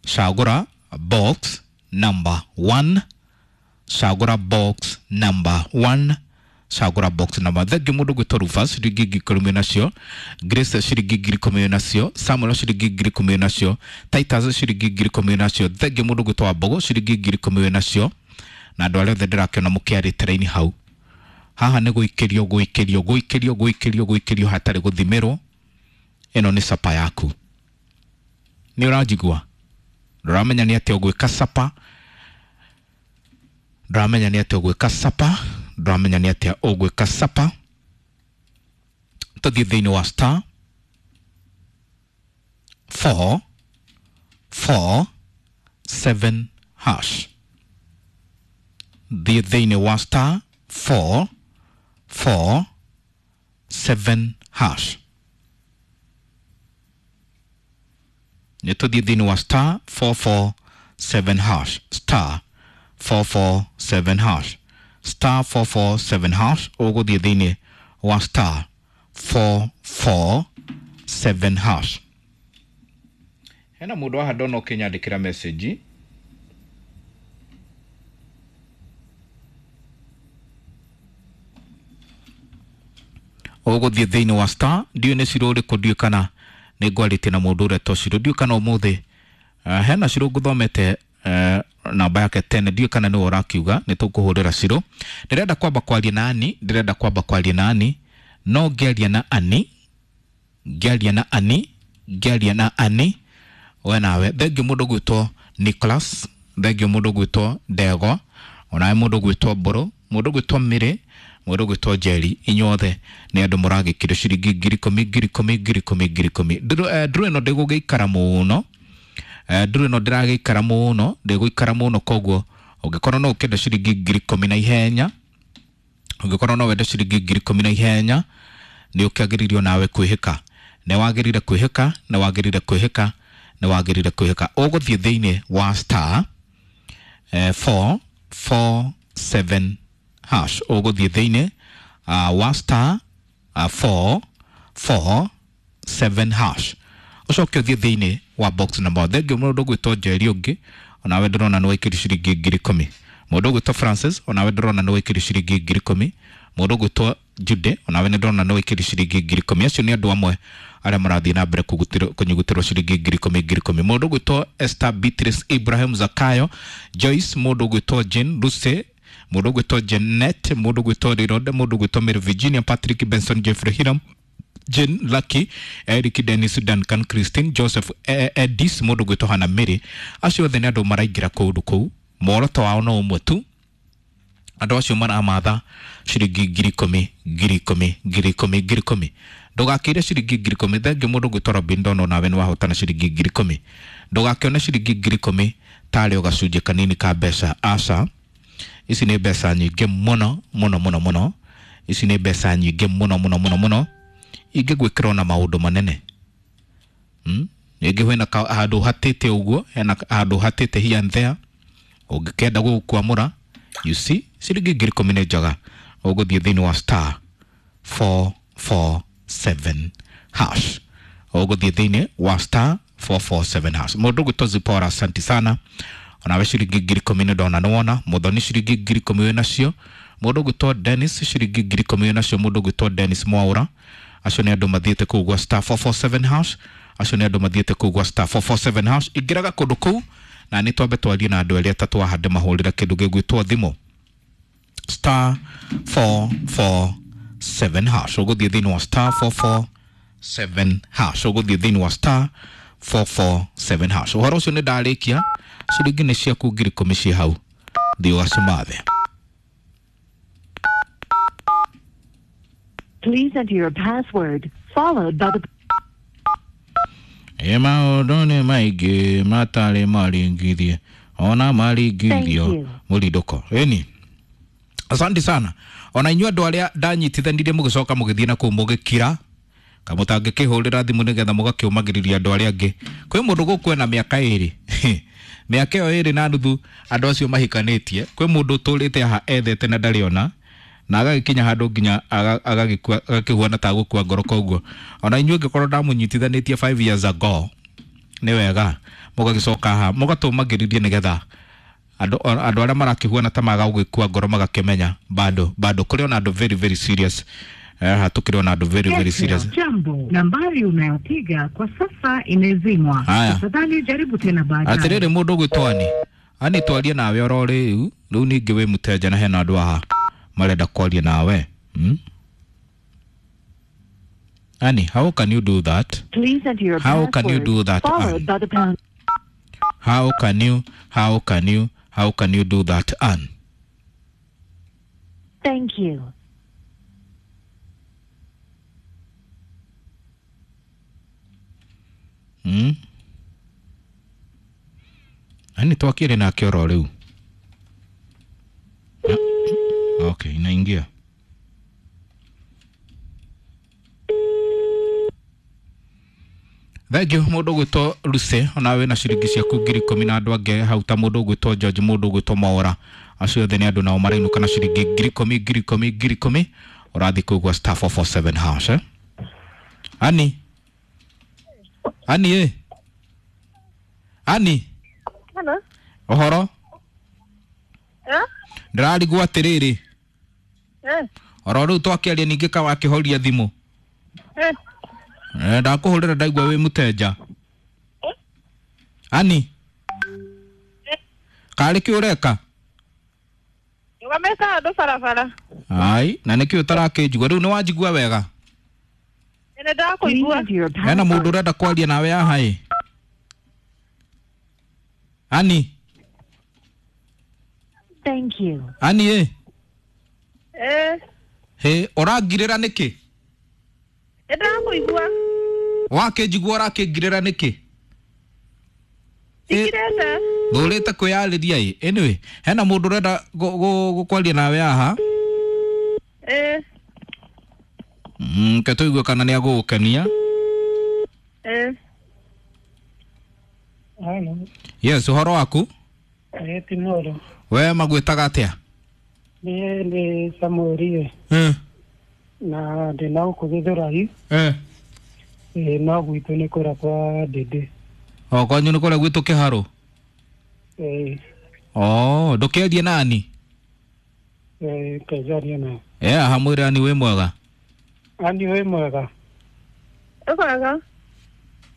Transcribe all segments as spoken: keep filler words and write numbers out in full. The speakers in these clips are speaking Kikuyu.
Cagũra box number one, cagũra box number one, cagũra box number. Thengiũ mũndũ gwĩtwo Rufus ciringi ngiri ikũmi nacio, Grace ciringi ngiri ikũmi nacio, Samuel ciringi ngiri ikũmi nacio, Titus ciringi ngiri ikũmi nacio. Thengiũ mũndũ gwĩtwo Wambogo ciringi ngiri ikũmi nacio, na andũ arĩa othe ndĩrakĩona mũkĩarĩte raini hau. Haha nĩ gũikĩrio gũikĩrio gũikĩrio gũikĩrio gũikĩrio hatarĩ gũthimĩrwo. Ĩno nĩ sapa yaku. Nĩ ũranjigua? Ndũramenya nĩ atĩa ũgwĩka sapa, ndũramenya nĩ atĩa ũgwĩka sapa, ndũramenya nĩ atĩa ũgwĩka sapa. Tũthiĩ thĩinĩ wa star four four seven hash. Thiĩ thĩinĩ wa star four four seven hash. Nĩ tũthiĩ thĩinĩ wa star four four seven hash, star four four seven hash, star four four seven hash. Ũgũthiĩ thĩinĩ wa star four four seven hash. Hena mũndũ haha ndona ũkĩnyandĩkĩra message. Ũgũthiĩ thĩinĩ wa star, ndiũĩ nĩ ciro ũrĩkũ, ndiũĩ kana nĩ ngwarĩtie na mũndũ ũrĩa to ciro, ndiũĩ kana ũmũthĩ uh, hena ciro ngũthomete uh, namba yake tene, ndiũĩ kana nĩwe ũrakiuga nĩ tũkũhũrĩra ciro. Ndĩrenda kwamba kwaria na Ani, ndĩrenda kwamba kwaria na Ani, no ngĩaria na Ani, ngĩaria na Ani, ngĩaria na Ani we nawe. Thengiũ mũndũ gwĩtwo Nicholas, thengiũ mũndũ gwĩtwo Ndegwa, onawe mũndũ gwĩtwo Mbũrũ, mũndũ gwĩtwo Mĩrĩ, mũndũ gwĩtwo Njeri, inyuothe nĩ andũ mũragĩkĩrio ciringi ngiri ikũmi ngiri ikũmi ngiri ikũmi ngiri ikũmi. Ndũrũ eh, ndũrũ ĩno ndĩgũgĩikara mũno, eh, ndũrũ ĩno ndĩragĩikara mũno, ndĩgũikara mũno, koguo ũngĩkorwo no ũkĩenda ciringi ngiri ikũmi na ihenya, ũngĩkorwo no wende ciringi ngiri ikũmi na ihenya, nĩ ũkĩagĩrĩirwo nawe kwĩhĩka, nĩ wagĩrĩire kwĩhĩka, nĩ wagĩrĩire kwĩhĩka, nĩ wagĩrĩire kwĩhĩka. Ũgũthiĩ thĩinĩ wa star eh, four four seven hash. Ũgũthiĩ thĩinĩ uh, wa star uh, four four seven hash, ũcoke ũthiĩ thĩinĩ wa box number. Thengiũ mũndũ ũgwĩtwo Njeri ũngĩ, onawe ndĩrona nĩ waikĩrio ciringi ngiri ikũmi. Mũndũ ũgwĩtwo Francis, onawe ndĩrona nĩ waikĩrio ciringi ngiri ikũmi. Mũndũ ũgwĩtwo Jude, onawe nĩ ndĩrona nĩ waikĩrio ciringi ngiri ikũmi. Acio nĩ andũ amwe arĩa marathiĩ na mbere kũgutĩrwo- kũnyugutĩrwo ciringi ngiri ikũmi ngiri ikũmi. Mũndũ ũgwĩtwo Esther Beatrice Ibrahim Zakayo Joyce, mũndũ ũgwĩtwo Jane Lucy, mũndũ ũgwĩtwo Janet, mũndũ ũgwĩtwo Rirode, mũndũ ũgwĩtwo Mary Virginia, Patrick Benson, Jeffrey Hiram, Jane Lucky, Eric Dennis, Duncan Christine, Joseph eh, Edis, mũndũ ũgwĩtwo Hannah Mary. Acio othe nĩ andũ maraingĩra kũndũ kũu, muoroto wao no ũmwe tu. Andũ acio maramatha ciringi ngiri ikũmi ngiri ikũmi ngiri ikũmi ngiri ikũmi. Ndũgakĩire ciringi ngiri ikũmi. Thengiũ mũndũ ũgwĩtwo Robin Ndono, nawe nĩ wahotana ciringi ngiri ikũmi. Ndũgakĩone ciringi ngiri ikũmi tarĩ o gacunjĩ kanini ka mbeca, aca. Ici nĩ mbeca nyingĩ mũno mũno mũno mũno, ici nĩ mbeca nyingĩ mũno mũno mũno mũno, ingĩgwĩkĩra ona maũndũ manene. Hmm? Rĩngĩ hena ka- handũ hatĩte ũguo, hena handũ hatĩte here and there, ũngĩkenda gũgũkwamũra, you see, ciringi ngiri ikũmi nĩ njega. Ũgũthiĩ thĩinĩ wa star four four seven hash, ũgũthiĩ thĩinĩ wa star four four seven hash. Mũndũ ũgwĩtwo Zipora, asanti sana, onawe ciringi ngiri ikũmi nĩ ndona nĩwona. Mũthoni ciringi ngiri ikũmi wĩ nacio. Mũndũ ũgwĩtwo Dennis ciringi ngiri ikũmi wĩ nacio. Mũndũ ũgwĩtwo Dennis Mwaũra, acio nĩ andũ mathiĩte kũu gwa star four four seven hash. Acio nĩ andũ mathiĩte kũu gwa star four four seven hash. Ingĩraga kũndũ kũu na nĩ twambe twarie na andũ erĩ atatũ ahande mahũrĩra kĩndũ gĩgwĩtwo thimũ star four four seven hash. Ũgũthiĩ thĩinĩ wa star four four seven hash, ũgũthiĩ thĩinĩ wa star four four seven hash. Ũhoro ũcio nĩ ndarĩkia, ciringi nĩ ciaku ngiri ikũmi ciĩ hau, thiĩ ũgacimathe. Please enter your password, followed by the Ĩ maũndũ nĩ maingĩ matarĩ maringithie ona maringithio Thank you. mũrindũko ĩni. Asante sana ona inyuĩ andũ arĩa ndanyitithanirie mũgĩcoka mũgĩthiĩ na kũu mũgĩkira kamũtangĩkĩhũrĩra thimũ nĩgetha mũgakĩũmagĩrĩria andũ arĩa angĩ. Kwĩ mũndũ gũkũ ena mĩaka ĩrĩ, mĩaka ĩyo ĩrĩ na nuthu andũ acio mahikanĩtie. Kwĩ mũndũ ũtũrĩte haha ethete na ndarĩ ona, na agagĩkinya handũ nginya aga- agagĩkua agakĩhuana ta gũkua ngoro. Koguo ona inyuĩ ngĩkorwo ndamũnyitithanĩtie five years ago Nĩ wega mũgagĩcoka haha mũgatũmagĩrĩrie nĩgetha andũ andũ arĩa marakĩhuana ta maga gũgĩkua ngoro magakĩmenya bado bado kũrĩ ona andũ very very serious. Eh, hatukĩrĩ ona andũ very very serious. Jambo, nambari unayopiga kwa sasa imezimwa. Haya. Tafadhali jaribu tena baadaye. Atĩrĩrĩ, mũndũ ũgwĩtwo Ani, Ani, twarie nawe oro rĩu rĩu ningĩ wĩ mũteja na hena andũ aha marenda kwaria nawe, hmm? Ani, how can you do that? Please enter your How can you password do that, followed Ann? by the pound. How can you, how can you, how can you do that, Ann? Thank you. Hmm? Ani twakire nake oro rĩu. Okay, inaingia. Thank you mũndũ ũgwĩtwo Lucy, ona wĩna ciringi ciaku ngiri ikũmi na andũ angĩ hau ta mũndũ ũgwĩtwo George, mũndũ ũgwĩtwo Maora, acio othe nĩ andũ nao marainũka na ciringi ngiri ikũmi ngiri ikũmi ngiri ikũmi. Ũrathiĩ kũigua star four four seven hash, eh? Ani, Ani, ĩ Ani. Hello. Ũhoro? Eh? Ndĩrarigwo atĩrĩrĩ, Eh? oro rĩu twakĩaria ningĩ ka wakĩhoria thimũ. Eh? Eh, ndakũhũrĩra ndaigua wĩ mũtenja. Ani, karĩ kĩ ũreka? Nĩwameka andũ barabara. Ai, na nĩkĩ ũtarakĩnjigua rĩu? Nĩ wanjigua wega? Nĩ Please ndakũigua. enter your Hena mũndũ password. ũrenda kwaria nawe haha ĩ. Ani, Thank you. Ani ĩ. Eh? Hĩ, ũrangirĩra nĩkĩ? Nĩ ndakũigua. Wakĩnjigua ũrakĩngirĩra nĩkĩ? Ndikirĩte. Thũrĩte kwĩyarĩria ĩ. Anyway, hena mũndũ ũrenda gũ- gũ- gũkwaria nawe haha. Eh? Mm, ke tũigue kana nĩ agũgũkenia. Eh? Halo, Yes, ũhoro waku? eh, Timoro. We magwĩtaga atĩa? Niĩ nĩ Samuel Eh, na ndĩna gũkũ Gĩthũrai. eh. Eh, no gwitũ nĩ kũra kwa Ndĩndĩ. O kwanyu nĩ kũrĩa gwitũ kĩharũ? Eh, Oh, ndũkĩarie nani? eh, kenjaria na. Eh, aha mwĩre Ani wĩ mwega. Ani wĩ mwega? Ũkwega?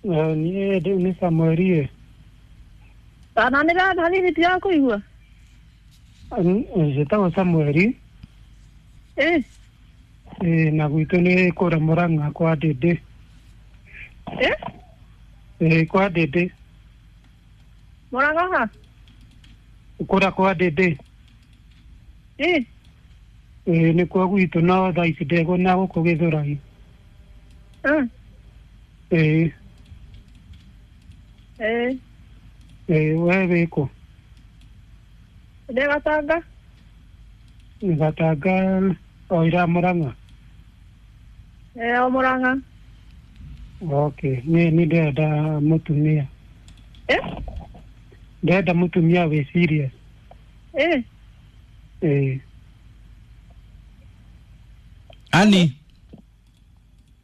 Eh, niĩ ndĩ nĩ Samuel. Kana nĩ hanini ndirakũigua. Njĩtagwo Samuel. Eh? Eh, na gwitũ nĩ kũra Mũrang'a kwa Ndĩndĩ. Eh? Eh, kwa Ndĩndĩ. Mũrang'a ha? Kũra kwa Ndĩndĩ. Eh? Eh, nĩkuo gwitũ no thaa ici ndĩgwo na gũkũ Gĩthũrai. Eh? Eh, Eh? eh, we wĩkũ? Ndĩ Gatanga. Gatanga o ira Mũrang'a. Eh, o Mũrang'a. Okay, niĩ nĩ ndĩrenda mũtumia. Eh? Ndĩrenda mũtumia wĩ serious. Eh? Eh, Ani,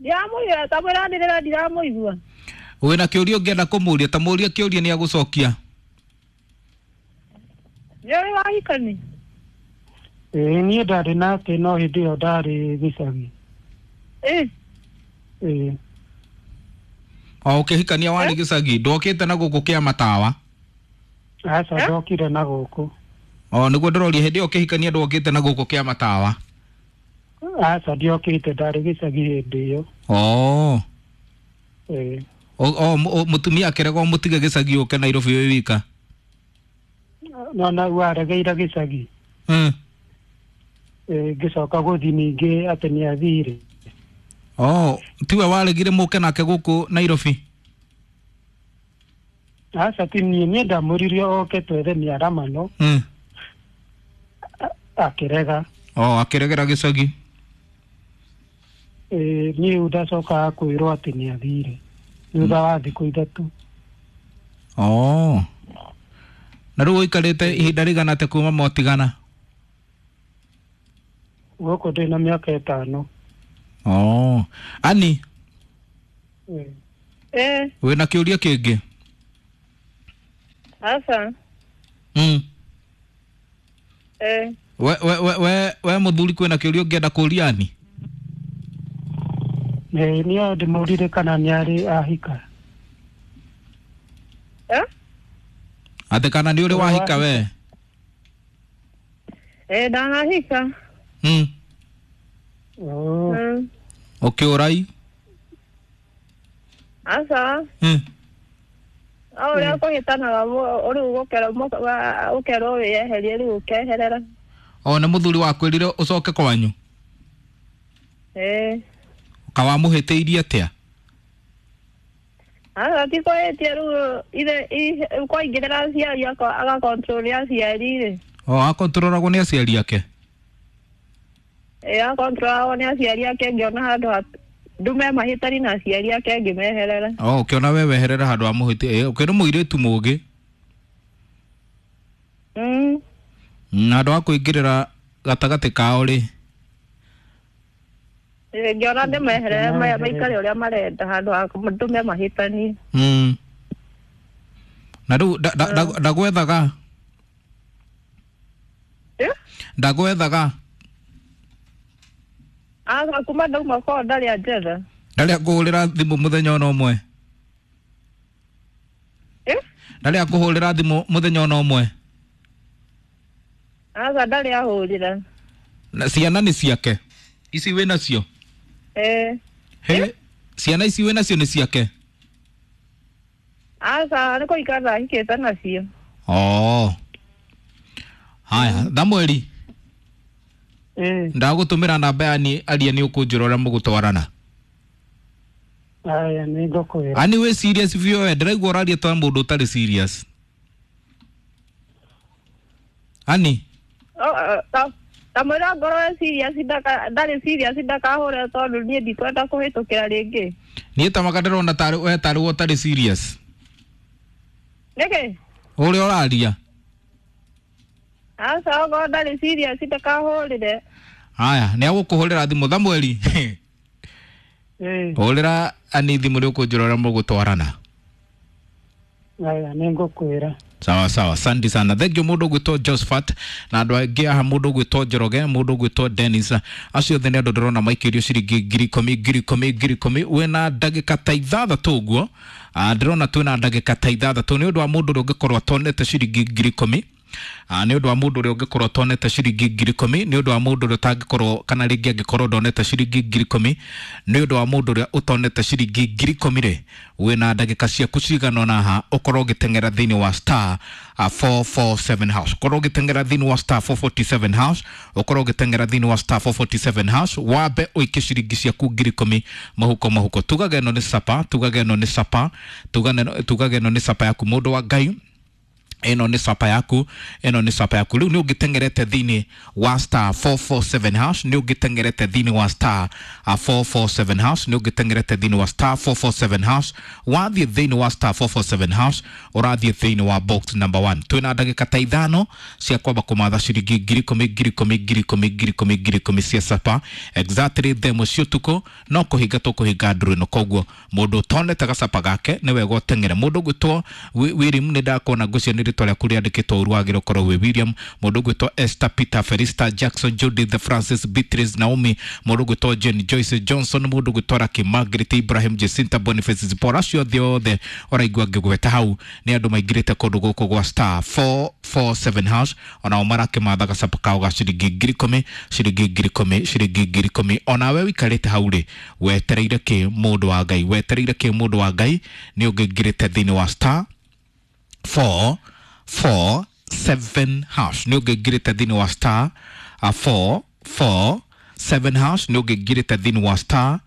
Ndiramũigua, ta mwĩra nĩrĩra ndiramũigua. wĩna kĩũria ũngĩenda kũmũria? Ta mũrie kĩũria nĩ agũcokia. Nĩ ũrĩ wahikani? eh, niĩ ndarĩ nake no hĩndĩ ĩyo ndarĩ gĩcagi. Eh? Eh, O ũkĩhikania warĩ gĩcagi, ndwokĩte na gũkũ kĩa matawa? aca Eh? ndokire na gũkũ. O nĩguo ndĩroria, hĩndĩ ĩyo ũkĩhikania ndwokĩte na gũkũ kĩa matawa? Aca ndiokĩte, ndarĩ gĩcagi hĩndĩ ĩyo. Oh. Eh, O, o, o mũtumia akĩrega ũmũtige gĩcagi ũke Nairobi wĩ wika? no nau aregeire gĩcagi. Mm. Eh, ngĩcoka gũthiĩ ningĩ atĩ nĩ athire. Oh, tiwe waregire mũke nake gũkũ Nairobi? Aca ti niĩ, niĩ ndamũririe oke twethe mĩaramano. Mm. Akĩrega. Oh, akĩregera gĩcagi. Eh, niĩ rĩu ndacokaga kwĩrwo atĩ nĩ athire thutha wa thikũ ithatũ. Oh. Na rĩu ũikarĩte ihinda rĩigana atĩa kuma mwatigana? Gũkũ ndĩna mĩaka ĩtano. Oh. Ani, Eh, Eh? wĩna kĩũria kĩngĩ? Aca. Mm. Eh. We we we we, we muthuri kwina kiuria ungienda kuria ani? Ĩĩ niĩ ndĩmũrire kana nĩ arĩ ahika. Eh? Ate kana nĩ ũrĩ wahika we? Eh, ndanahika. Mm. Oh. Mm. Ũkĩũrai? Aca. Mm. O ũrĩa kũhĩtanaga rĩu ũkerwo wĩyeherie rĩu ũkeherera. O nĩ mũthuri wakwĩrire ũcoke kwanyu? Ĩĩ. Kawamũhĩtĩirie atĩa? Aca ti kũhĩtia rĩu ithe kwaingĩrĩra aciari agakontrol aciari rĩ. O akontrolagwo nĩ aciari ake? Ĩĩ akontrolagwo nĩ aciari ake ngĩona handũ ndume mahĩtani na aciari ake ngĩmeherera. O ũkĩona we weherera handũ ha mũhĩti ĩ ũkĩrĩ mũirĩtu mũũgĩ. Mm. Na handũ ha kũingĩrĩra gatagatĩ kao rĩ. Ĩĩ ngĩona ndĩmeherere maikare ũrĩa marenda handũ ha ndume mahĩtani. Mm. Na rĩu ndagwethaga? Eh? Ndagwethaga? Aca kuma ndauma kwao ndarĩ anjetha. Ndarĩ akũhũrĩra thimũ mũthenya ona ũmwe? Eh? Ndarĩ akũhũrĩra thimũ mũthenya ona ũmwe? Aca ndarĩ ahũrĩra. Na ciana nĩ ciake? Ici wĩ nacio? Eh. He, ciana ici wĩ nacio nĩ ciake? Aca nĩ kũhika ndahikĩte nacio. Oh. Haya, Thamweri. Eh. Ndagũtũmĩra namba ya ni aria nĩ ũkũnjĩra ũrĩa mũgũtwarana. Aya nĩ ngũkwĩra. Ani wĩ serious biũ we, ndĩraigua ũraria ta mũndũ ũtarĩ serious. Ani? Kamwĩra ngorwo e serious ndarĩ serious ndakahũre tondũ niĩ ndikwenda kũhĩtũkĩra rĩngĩ. Niĩ ta maka ndĩrona tarĩ we tarĩ we ũtarĩ serious. Nĩkĩ? Ũrĩa ũraria. Aca okorwo ndarĩ serious ndakahũrĩre. Haya, nĩ agũkũhũrĩra thimũ Thamweri. Eh. Hũrĩra ani thimũ nĩ ũkũnjĩra ũrĩa mũgũtwarana. Aya nĩ ngũkwĩra. Sawa sawa, asante sana. Thank you mũndũ ũgwĩtwo Josephat na andũ angĩ aha mũndũ ũgwĩtwo Njoroge, mũndũ ũgwĩtwo Dennis. Acio othe nĩ andũ ndĩrona maikĩrio ciringi ngiri ikũmi ngiri ikũmi ngiri ikũmi. Wĩna ndagĩka ta ithathatũ ũguo. Ah, ndĩrona twĩna ndagĩka ta ithathatũ nĩ ũndũ wa mũndũ ũrĩa ũngĩkorwo atonete ciringi ngiri ikũmi. Ah, nĩ ũndũ wa mũndũ ũrĩa ũngĩkorwo atonete ciringi ngiri ikũmi, nĩ ũndũ wa mũndũ ũrĩa ũtangĩkorwo kana rĩngĩ angĩkorwo ndonete ciringi ngiri ikũmi, nĩ ũndũ wa mũndũ ũrĩa ũtonete ciringi ngiri ikũmi rĩ, wĩna ndagĩka ciaku cigana ũna haha ũkorwo ũgĩteng'era thĩinĩ wa star four four seven hash. Ũkorwo ũgĩteng'era thĩinĩ wa star four forty-seven hash, ũkorwo ũgĩteng'era thĩinĩ wa star four forty-seven hash, wambe ũikie ciringi ciaku ngiri ikũmi mũhuko mũhuko. Tugaga ĩno nĩ sapa, tugaga ĩno nĩ sapa, tugaga ĩno nĩ sapa yaku mũndũ wa Ngai. Ĩno nĩ sapa yaku, ĩno nĩ sapa yaku. Rĩu nĩ ũngĩteng'erete thĩinĩ wa star four four seven hash, nĩ ũngĩteng'erete thĩinĩ wa star four four seven hash, nĩ ũngĩteng'erete thĩinĩ wa star four four seven hash. Wathiĩ thĩinĩ wa star four four seven hash, ũrathiĩ thĩinĩ wa box number one. Twĩna ndagĩka ta ithano cia kwamba kũmatha ciringi ngiri ikũmi ngiri ikũmi ngiri ikũmi ngiri ikũmi ngiri ikũmi cia sapa exactly thaa ĩmwe cia ũtukũ no kũhinga tũkũhinga ndũrũ ĩno. Koguo mũndũ ũtonete gacapa gake nĩ wega ũteng'ere. Mũndũ ũgwĩtwo William nĩ ndakuona ngwĩciria nĩ rĩtwa rĩaku rĩandĩkĩtwo ũru wagĩrĩire ũkorwo wĩ William. Mũndũ ũgwĩtwo Esther Peter Felista Jackson Judith Francis Beatrice Naomi, mũndũ ũgwĩtwo Jane Joyce Johnson, mũndũ ũgwĩtwo Lucky Margaret Ibrahim Jacinta Boniface Zipporah, acio othe othe ũraigua ngĩgweta hau nĩ andũ maingĩrĩte kũndũ gũkũ gwa star four four seven hash, onao marakĩmatha gacapa kao ga ciringi ngiri ikũmi ciringi ngiri ikũmi ciringi ngiri ikũmi. Onawe ũikarĩte hau rĩ, wetereire kĩ mũndũ wa Ngai, wetereire kĩ mũndũ wa Ngai? Nĩ ũngĩingĩrĩte thĩinĩ wa star four four seven hash, nĩ ũngĩingĩrĩte thĩinĩ wa star four four seven hash, nĩ ũngĩingĩrĩte thĩinĩ wa star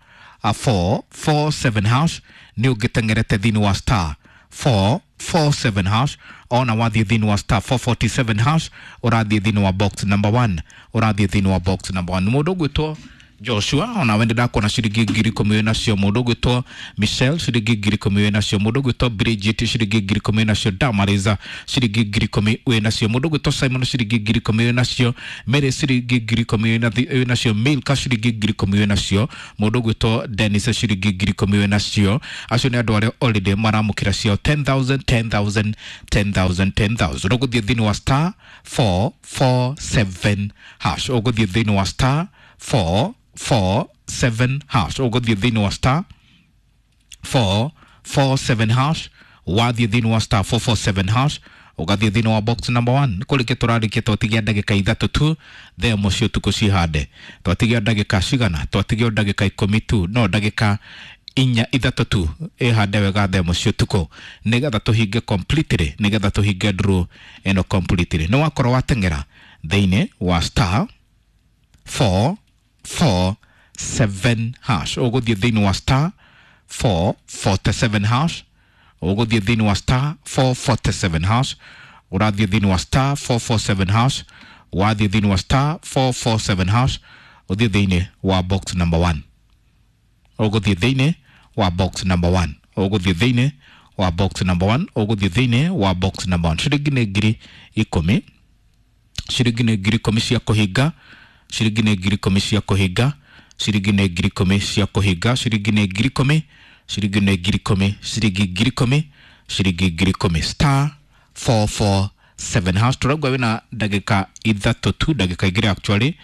four four seven hash, nĩ ũngĩteng'erete thĩinĩ wa star four four seven hash. Ona wathiĩ thĩinĩ wa star four forty-seven hash, ũrathiĩ thĩinĩ wa box number one, ũrathiĩ thĩinĩ wa box number one. Mũndũ ũgwĩtwo Joshua, onawe ndä ndakuona ciringi ngiri ikũmi wĩ nacio. Mũndũ ũgwĩtwo Michelle, ciringi ngiri ikũmi wĩ nacio. Mũndũ ũgwĩtwo Bridget, ciringi ngiri ikũmi wĩ nacio. Damariza, ciringi ngiri ikũmi wĩ nacio. Mũndũ ũgwĩtwo Simon, ciringi ngiri ikũmi wĩ nacio. Mary, ciringi ngiri ikũmi wĩ nathi- wĩ nacio. Milka, ciringi ngiri ikũmi wĩ nacio. Mũndũ ũgwĩtwo Dennis, ciringi ngiri ikũmi wĩ nacio. Acio nĩ andũ arĩa already maramũkĩra ciao ten thousand, ten thousand, ten thousand, ten thousand. Ũgũthiĩ thĩinĩ wa star four four seven hash. Ũgũthiĩ thĩinĩ wa star four four seven hash. Ũgũthiĩ thĩinĩ wa star four four seven hash. Wathiĩ thĩinĩ wa star four four seven hash, ũgathiĩ thĩinĩ wa box number one. Kũrĩkia tũrarĩkia, twatigia ndagĩka ithatũ tu thaa ĩmwe cia ũtukũ cihande. Twatigia ndagĩka cigana? Twatigia ndagĩka ikũmi tu, no ndagĩka inya, ithatũ tu ĩhande wega thaa ĩmwe cia ũtukũ, nĩgetha tũhinge completely, nĩgetha tũhinge draw ĩno completely. Nĩ wakorwo wateng'era thĩinĩ wa star four four seven hash. Ũgũthiĩ thĩinĩ wa star four forty-seven hash. Ũgũthiĩ thĩinĩ wa star four forty-seven hash. Ũrathiĩ thĩinĩ wa star four forty-seven hash. Wathiĩ thĩinĩ wa star four forty-seven hash, ũthiĩ thĩinĩ wa box number one. Ũgũthiĩ thĩinĩ wa box number one. Ũgũthiĩ thĩinĩ wa box number one. Ũgũthiĩ thĩinĩ wa box number one. Ciringi nĩ ngiri ikũmi. Ciringi nĩ ngiri ikũmi cia kũhinga. Ciringi nĩ ngiri ikũmi cia kũhinga. Ciringi nĩ ngiri ikũmi cia kũhinga. Ciringi nĩ ngiri ikũmi. Ciringi nĩ ngiri ikũmi. Ciringi ngiri ikũmi. Ciringi ngiri ikũmi. Star four four seven hash. Tũraigua wĩna ndagĩka ithatũ tu, ndagĩka igĩrĩ actually.